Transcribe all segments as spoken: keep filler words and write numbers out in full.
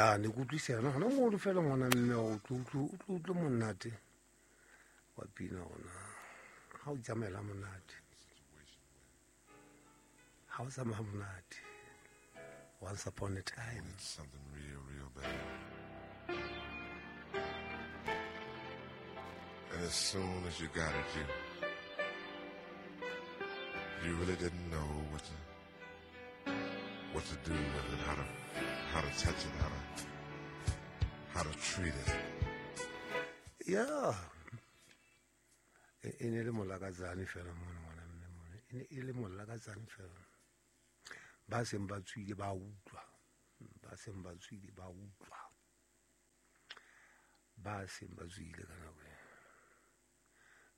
Ya ne ke utlwisa yona hona mono fela ngwana mme o tlo o tlo monate wa pina hona ha o tsamaela monate ha o tsamaya monate. Once upon a time, it's something real, real bad. And as soon as you got it, you you really didn't know what to what to do with it, how to how to touch it, how to how to treat it. Yeah. E ne le molakatsane fela mona ngwana mme mona. E ne e le molakatsane fela. Ba seng ba tswile ba utlwa. Ba seng ba tswile ba utlwa. Ba seng ba tswile ka nako eo.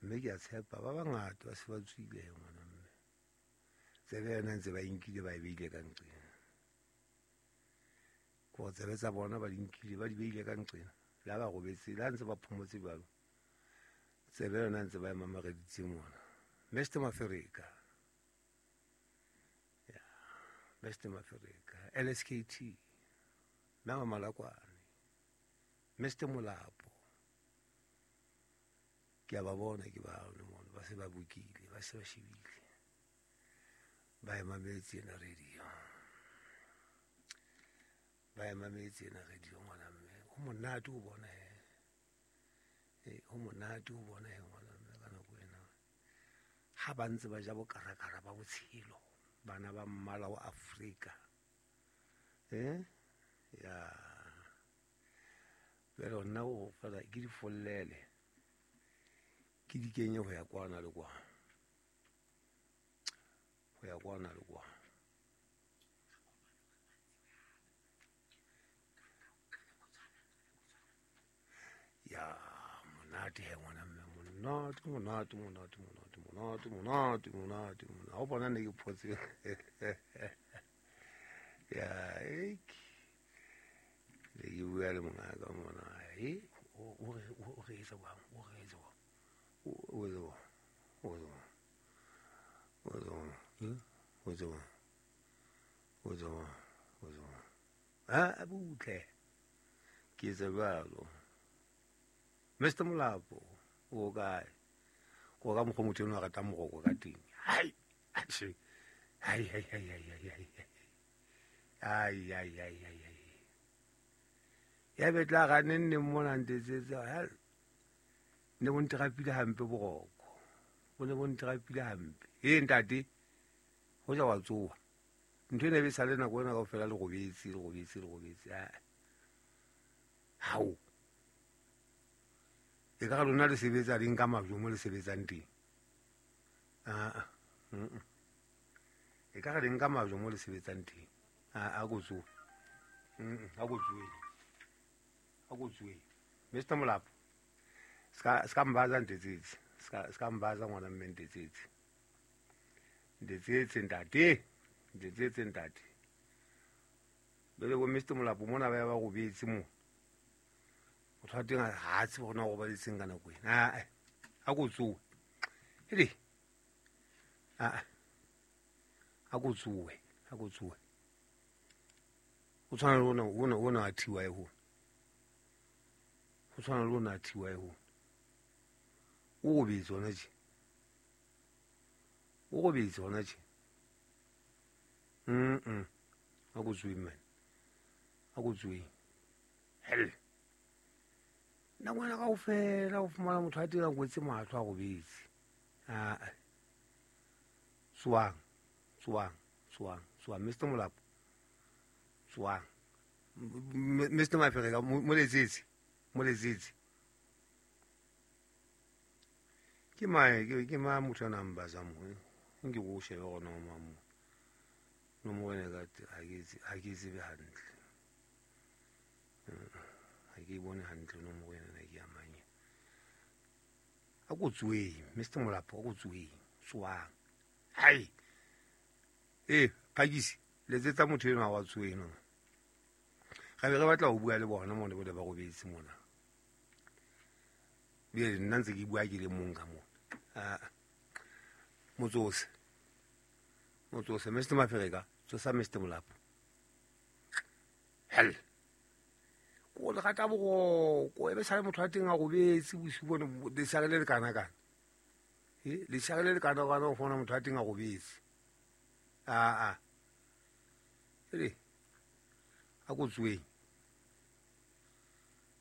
Mme ke a tshepa ba bangata ba se ba tswile ngwana mme. Tsebe yona ntse ba inkile ba e beile ka nqena. Ko tsebe tsa bona ba di nkile ba di beile ka nqena. Le ha ba robetse, le ha ntse ba phomotse jwalo. Tsebe yona ntse ba e mamareditse mona. Mister Mafereka. Yeah. Mister Mafereka. L S K T. Mama Malakwane. Mister Molapo. Ke a ba bona ke ba mona ba se ba bukile, ba se ba shebile. Ba e mametse ena radio. Ba e mametse ena radio ngwana mme. Ho monate ho bona he. Eh, ho monate ho bona he ngwana mme ka nako ena. Ha ba ntse ba ja bokarakara ba botshelo, bana ba mmala wa Afrika. Eh? Ya. Pero nna o fela ke di follele. Ke di kenye ho ya kwana le kwa. Ho ya kwana le kwa. Ya monate he ngwana mme, monate, monate, monate, monate, monate, monate, monate, monate. Ha o bona ne ke photse. Ya, ek. Le ke bua le mongaka mona. Eh, o o o re etsa jwang? O re etsa jwang? O o etsa jwang? O etsa jwang? O etsa jwang? Eh? O etsa jwang? O etsa jwang? O etsa jwang? Ah, butle. Ke etsa jwalo. Mister Molapo, o kae? Ko ka mokgwa motho enwa a ratang moroko ka teng. Hai, atjhe. Hai, hai, hai, hai, hai, hai. Ai, ai, ai, ai, ai. Ya betla ga nne nne mona ntetsetse. Hell. Ne bo ntrapile hampe boroko. Bo ne bo ntrapile hampe. E ntate, ho ja wa tsoha. Ntho ena e be sa le nako ena kaofela le robetse, le robetse, le robetse. Ah. Hao. E ka lona le sebetsa le nka majwe mo le sebetsang teng. Ah. Mm. E ka re nka majwe mo le sebetsang teng. Ah, a go tsoha. Mm, a go tsohe. A go tsohe. Mister Molapo. Ska ska mbaza ntetsetse. Ska ska mbaza ngwana mme ntetsetse. Ntetsetse ntate. Ntetsetse ntate. Bele bo Mister Molapo mona ba ya ba robetse mo. Motho wa teng ha tsebe hore na o robaditseng ka nako ena. Ah, a go tsohe. Hele. Ah. A go tsohe, a go tsohe. O tshwana le ona ona ona a thiwa e ho. O tshwana le ona a thiwa e ho. O robetse hona tje. O robetse hona tje. Mm mm. A go tsohe man. A go tsohe. Hell. Nna ngwana kaofela o fumana motho a teng a kwetse mahlo a robetse. Ah. Tsoang, tsoang, tsoang, tsoang Mister Molapo. Tsoang. Mister Mafereka mo letsetse, mo letsetse. Ke mae ke ke ma motho a nang ba za mo. Nke go shebe gona mo mo. No mo ene ka ha ke ha ke tsebe hantle. Ha ke bone hantle no mo ene na ke ya manye. A go tsoe, Mister Molapo, a go tsoe. Tsoang. Hai. Eh, phakisi, letsetsa motho enwa wa tsoe no. Ga be re batla ho bua le bona mona bole ba robetse mona. Bjale nna ntse ke bua ke le mong ka mona. Ah. Motsose. Motsose, Mister Mafereka, tsosa Mister Molapo. Hell. le rata boroko e be sale motho a teng a robetse bosiu bone lesare le le kana-kana e lesare le le kana-kana o fumana motho a teng a robetse aa ele a ko tsoeng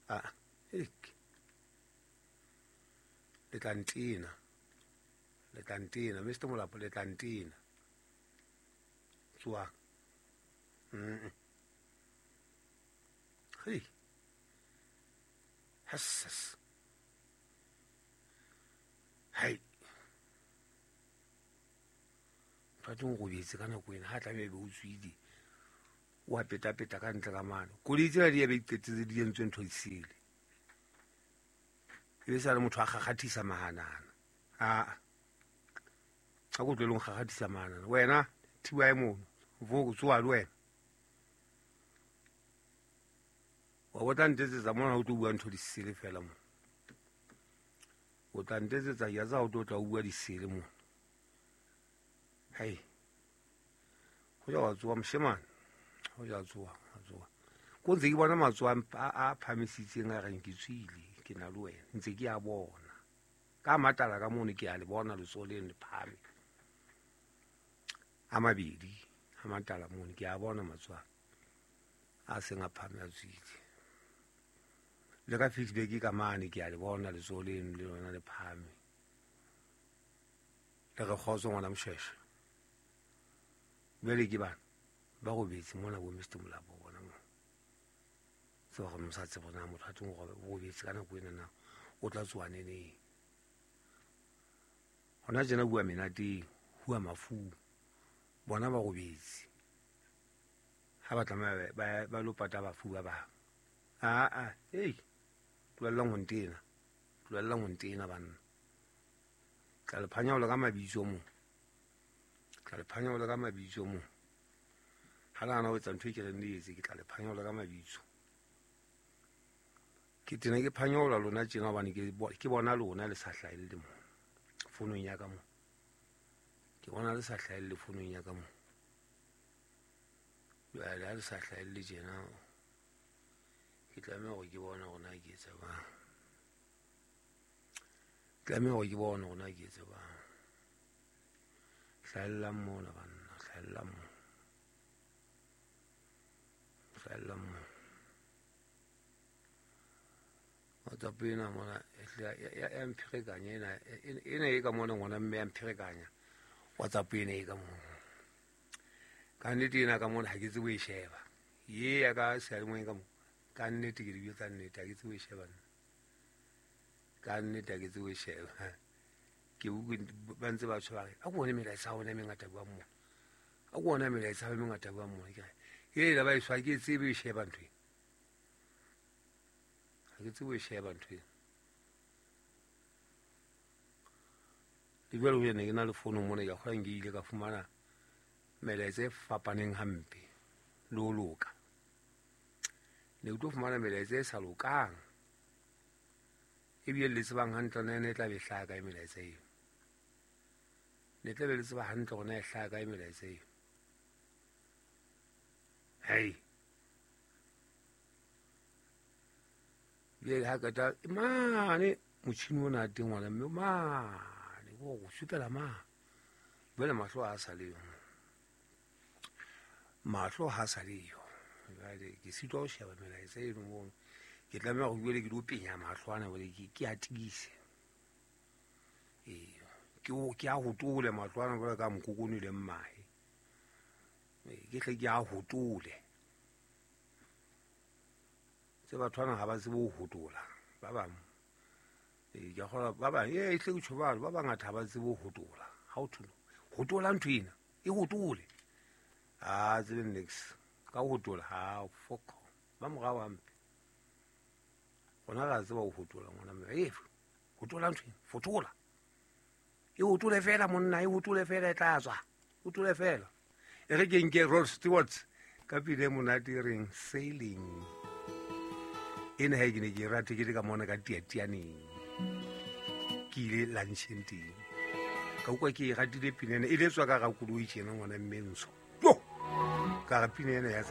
aa ele le tla ntena le tla ntena Mister Molapo le tla ntena tsoang mm hei hassas hai motho a teng o robetse ka nako ena ha tlameha be o tswile o a petapeta ka ntle ka mane koloi tsena di ebe di qetetse di entswe ntho disele e be sa le motho a kgakgathisa mahanana aa a ko tlohele ho nkgakgathisa mahanana wena thiba e mono vo tsoha le wena wa bo tla ntetsetsa mona o tlo bua ntho disele fela mo o tla ntetsetsa ke a tseba o tlo tla o bua disele mo hei ho ja wa tsoha moshemane ho ja tsoha wa tsoha ko ntse ke bona matsoho a a phamisitseng a reng ke tswile ke na le wena ntse ke a bona ka matala ka mono ke a le bona letsoho leno le phahame a mabedi a matala mono ke a bona matsoho a seng a phahame a tswile le ka feedback ka mane ke a le bona letsoho leno le lona le phahame le re kgotso ngwana Moshweshwe jwale ke bana ba robetse mona bo Mister Molapo bona mo tseba gore mo sa tsebe na motho a teng o robetse ka nako ena na o tla tsoha neneng hona tjena bua menateng hua mafung bona ba robetse ha ba tlameha ba ba lo pata bafu ba bang aa ei tlohellang ho ntena tlohellang ho ntena banna tla le phanyaola ka mabitso mo tla le phanyaola ka mabitso mo ha le hana ho etsa ntho e ke reng le etse ke tla le phanyaola ka mabitso ke tena ke phanyaola lona tjena hobane ke ke bona lona le sa hlahelle mo fonong ya ka mo ke bona le sa hlahelle fonong ya ka mo jwale ha le sa hlahelle tjena ke tlameha hore ke bone hore na ke etsa jwang tlameha hore ke bone hore na ke etsa jwang hlahellang mona banna hlahellang mo hlahellang mo WhatsApp ena mona ya mpherekanya ena ena e ka mona ngwana mme ya mpherekanya WhatsApp ena e ka mona ka nnete ena ka mona ha ke tsebe ho e sheba ye ya ka seyalemoyeng ka mo ka nnete ke di bua tsa nnete ha ke tsebe ho e sheba nna ka nnete ha ke tsebe ho e sheba ke utlwe ba ntse ba tjho ba re a ko bone melaetsa ya bona e mengata buang mona a ko bona melaetsa e mengata buang mona ke re hela ba e ke tsebe ho e sheba ntho ena ha ke tsebe ho e sheba ntho ena le jwale ho ne ke na le fono mona ke a kgolwa nke ile ka fumana melaetsa e fapaneng hampe le ho loka ne ke tlo fumana melaetsa e sa lokang ebile le tsebang hantle na ene e tla be hlaha kae melaetsa eo ne tla be le tseba hantle hore na e hlaha kae melaetsa eo hei jwale ha qeta mane motjhini ona teng ngwana mme mane ko go supela mane jwale mahlo ha a sa leyo mahlo ha sa leyo jwale ke sitwa ho sheba melaetsa eno mono ke tlameha hore jwale ke lo penya mahlo ana jwale ke ke a tiise ee ke ke a hotole mahlo ana jwale ka mokokone le mmahe ke hle ke a hotole tse batho bana ha ba tsebe ho hotola ba bang ee ke a kgolwa ba bang ee hle ke tjho jwalo ba bangata ha ba tsebe ho hotola ha o thwe hotola ntho ena e hotole ha tsebe niks ka ho hotola ha foko ba morao hampe rona ra tseba ho hotola ngwana mme e hotola ntho ena fotola e hotole fela monna e hotole fela e tla tswa hotole fela e re ke nke Rod Stewart ka pina e monate e reng sailing ena ha ke ne ke rate ke le ka mona ka tiatianeng ke ile luncheng teng ka utlwa ke e ratile pina ena e le tswa ka hara koloi tjena ngwana mme ntsho yo ka re pina ena ya